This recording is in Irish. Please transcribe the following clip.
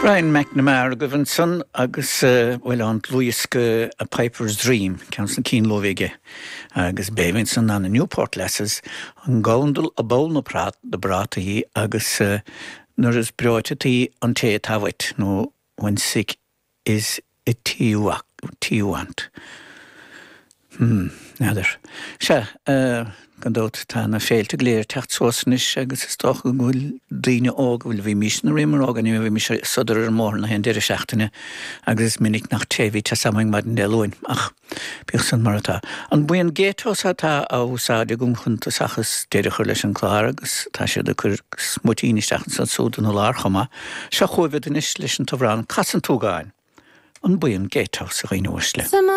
Brian McNamara agaibh ansan agus, bhuel, ón dlúthdhiosca A Piper's Dream, ceann de na cinn luath a bhí aige, agus b'é a bhí ansan ná na Newport Lasses, An Gabhandal a Ball na Prátaí agus Nuair is Breoite Tí an Té Atá Uait, nó When Sick is It You Want. Hmm, n'fheadar. Sea, gan dabht, tá na féilte go léir ag teacht suas anois agus is dócha go bhfuil daoine óga, bhuel, bhímís nuair a bhíomar óg, anyway, bhímís ag sodar ar an mbóthar na haon deireadh seachtaine agus is minic nach té a bhí te samainn maidin Dé Luain, ach bíodh san mar atá. An buíon Gatehouse atá á úsáid agam chun tosach is deireadh a chur leis an clár agus tá siad ag cur smuitín isteach ansan súd ina lár chomh maith. Seo chugaibh iad anois leis an t-amhrán Cas an tSúgáin. An buíon Gatehouse, a dhaoine uaisle.